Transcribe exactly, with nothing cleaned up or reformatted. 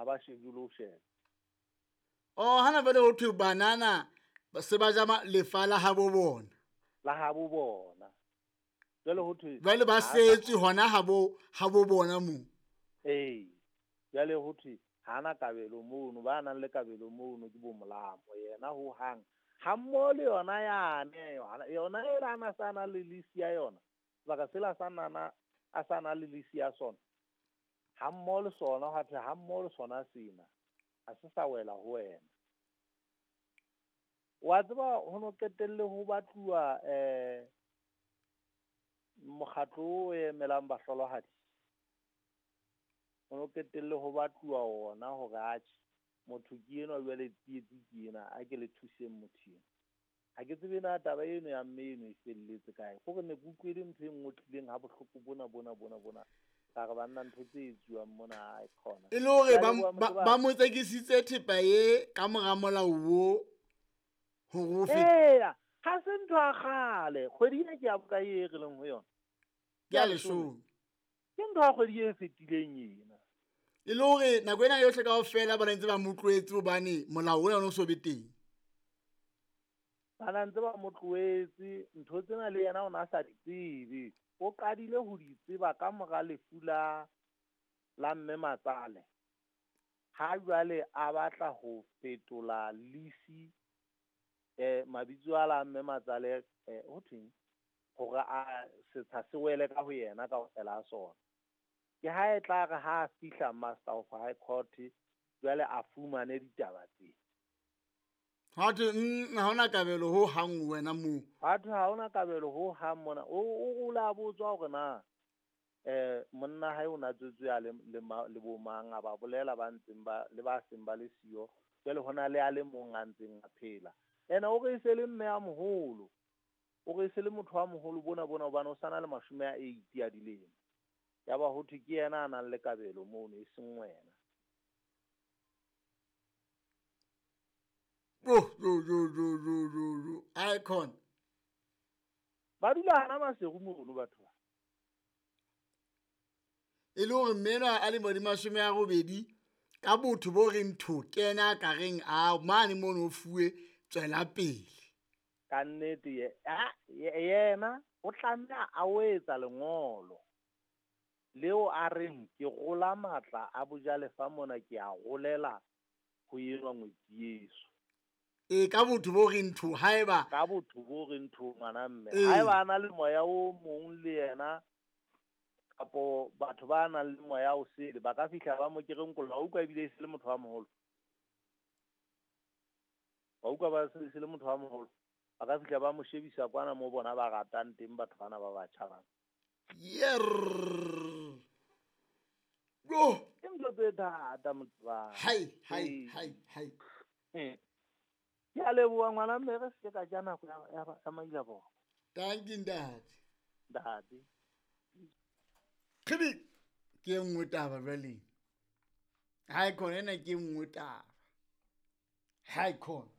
ba shebe le ho sheba. Oh, hana jwale ho thwe banana se ba ja lefa la habo bona. La habo bona. Jwale ho thwe jwale ba setswe hona habo habo bona mo. Eh. Jwale ho thwe hana kabelo mono, ba nang le kabelo mono ke bo molamo yena ho hang. Ha mmoho le yona yane, yona e rana sana le lisi ya yona. Sebaka sela sa nana a sana le lisi ya sona. Ha mmoho le sona ha thwe ha mmoho le sona sena. Ha se sa wela ho wena. Wa tseba ho no qetelle ho batluwa eh mokgatlo o emelang bahlolohadi. Ho no qetelle ho batluwa ona hore atjhe motho ke enwa jwale tsietsi ke ena, a ke le thuseng motho ena. Ha ke tsebe na taba eno ya mme eno e felletse kae. Hore ne ke utlwile ntho e nngwe tlileng ha bohloko bona bona bona bona. Ka re banna ntho tse etsuwang mona ha e khona. E le hore ba ba mo tsekisitse thepa e ka mora molao wo hore o fete. Eya, ha se ntho ya kgale. Kgwedi ena ke ya bokae e re leng ho yona? Ke ya leshome. Ke ntho ya kgwedi e fetileng ena. E le hore nako ena yohle kaofela ba ntse ba mo tlohetse hobane molao ona o so be teng. Ba ntse ba mo tlohetse, ntho tsena le yena o na sa di tsebe. O qadile ho di tseba ka mora lefu la la mme Matsale. Ha jwale a batla ho fetola lisi eh mabitso a la mme Matsale eh ho thweng hore a setsha se wele ka ho yena kaofela ha sona. Ke ha e tla re ha fihla Master of High Court jwale a fumane ditaba tse. Ha thwe ha hona kabelo ho hang wena mo. Ha thwe ha hona kabelo ho hang mona. O o la botswa hore na eh monna hae o na tswetswe a le le bo mang a ba bolela ba ntseng ba le ba seng ba le siyo. Jwale hona le a le mong a ntseng a phela. Ena o re se le mme a moholo. O re se le motho wa moholo bona bona hobane o sana le mashome a eighty a dilemo. Ya ba ho thwe ke yena a nang le kabelo mono e seng wena. Oh, yo yo yo yo yo yo icon. Ba dula hana Maseru mono batho ba. E le hore mme enwa a le mo di mashome a robedi ka botho bo reng tho kena ka reng a mane mono o fuwe tswela pele. Ka nnete ye, yena o tlameha a o etsa lengolo leo a reng ke rola matla a bojalefa mona ke a rolela ho enwa ngwetsi yeso. E ka botho bo reng tho haeba ka botho bo reng tho ngwana mme haeba a na le moya o mong le yena kapo batho ba nang le moya o sele ba ka fihla ba mo kereng kolla o utlwa ebile e se le motho wa moholo. Ba utlwa ba se le motho wa moholo ba ka fihla ba mo shebisa kwana mo bona ba ratang teng batho bana ba batjha bana. Yer. Go. Ke ntho tse thata motho wa. Hai hai hai hai. Ke a leboha ngwana mme re se ka ja nako ya ya maila bona. Thank you ntate. Ntate. Khibi ke nngwe taba jwale. Hai khona ena ke nngwe taba. Hai khona.